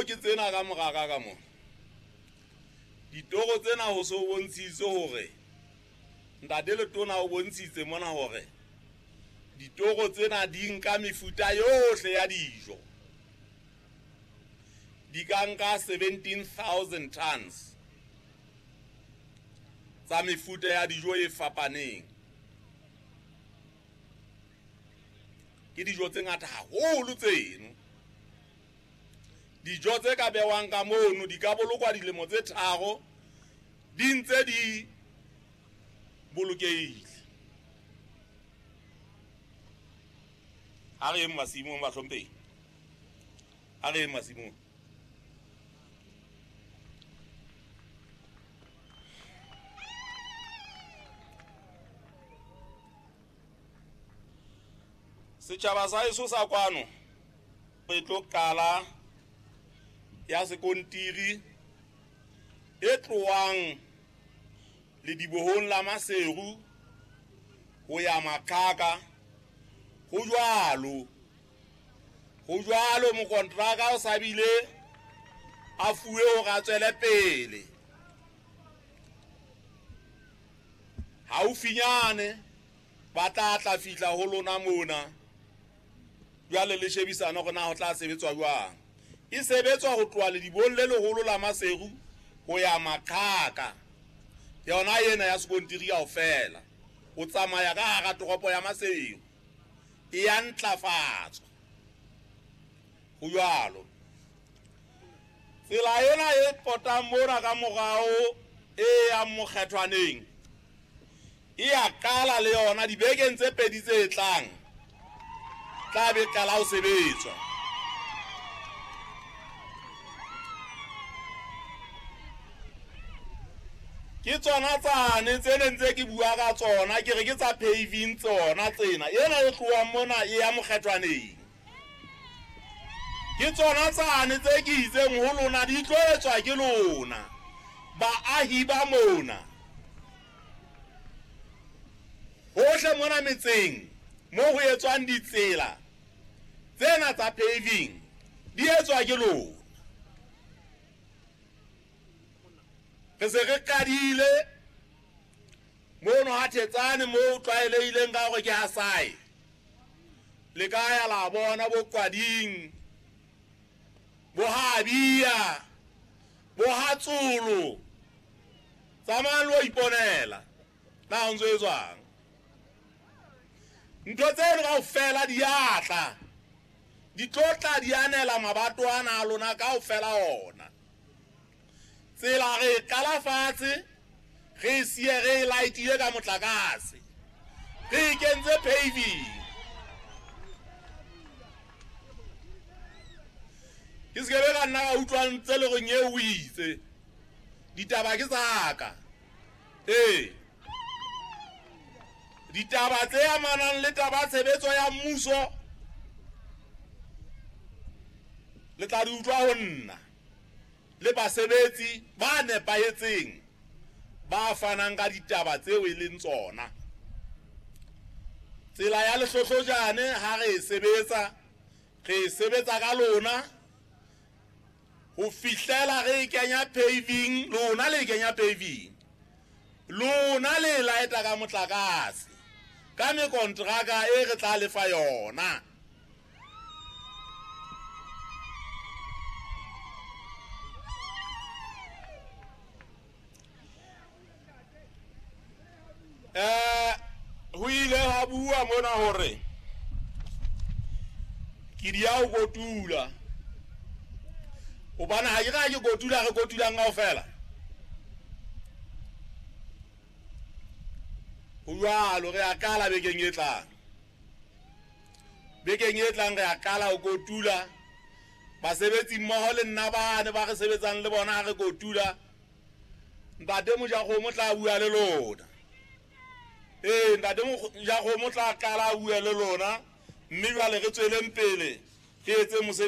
ke tsena ka moraka ka mona. Ditoro tsena ho so bontshitse hore ntate Letona o bontshitse mona hore ditoro tsena di nka mefuta yohle ya dijo. Di ka nka 17,000 tons tsa mefuta ya dijo e fapaneng. Ke dijo tse ngata haholo tseno. Dijo tse ka bewang ka mono di ka bolokwa dilemo tse 3 di ntse di bolokehile. Ha re masimong bahlomphehi. Ha re masimong. Setjhaba sa heso sa kwano re tlo qala ya sekontiri e tlohang ledibohong la Maseru ho ya Makhaka. Ho jwalo mokontraka o sa bile a fuwe hore a tswele pele. Haufinyane ba tla fihla ho lona mona. Jwale le shebisana hore na ho tla sebetswa jwang. E sebetswa ho tloha ledibong le leholo la Maseru ho ya Makhaka. Yona ena ya sekontiri kaofela. O tsamaya ka hara toropo ya Maseru. E ya ntlafatswa. Ho jwalo. Tsela ena e potang mona ka morao e yang Mokgethwaneng e ya qala le yona dibekeng tse pedi tse tlang. Tla be qala ho sebetswa. Ke tsona tsane tse neng tse ke bua ka tsona, ke re ke tsa paving tsona tsena. Ena e tlohang mona e ya Mokgethwaneng. Ke tsona tsane tse ke itseng ho lona di tlo etswa ke lona baahi ba mona. Hohle mona metseng mo ho etswang ditsela tsena tsa paving di etswa ke lona. Re se re qadile mono ha Thetsane mo o tlwaelehileng ka hore ke ha sae. Le ka ya la bona bo Kwading, bo Habia, bo Hatsolo. Tsamayang lo iponela na ho ntso etswang. Ntho tseno kaofela di a tla. Di tlo tla di anela mabato ana a lona kaofela ona. Tsela re qala fatshe, re siye re lightile ka motlakase. Re kentse paving. Ke se ke ka nna ka utlwa ntse le reng eo o itse. Ditaba ke tsaka. Ee. Ditaba tse amanang le taba tshebetso ya mmuso le tla di utlwa ho nna le basebetsi ba nepahetseng ba fanang ka ditaba tseo e leng tsona. Tsela ya Lehlohlojane ha re e sebetsa, re e sebetsa ka lona ho fihlela re e kenya paving, lona le e kenya paving. Lona le laeta ka motlakase ka mekontraka e re tla lefa yona. Ho ile ha bua mona hore ke di ya ho kotula. Hobane ha ke ra ke kotula, re kotulang kaofela. Ho jwalo, re a qala bekeng e tlang. Bekeng e tlang re a qala ho kotula. Basebetsi mmoho le nna bane ba re sebetsang le bona ha re kotula. Ntate Mojakgomo tla bua le lona. Ee, ntate Mojakgomo tla qala a bua le lona, mme jwale re tsweleng pele re etse mosebetsi.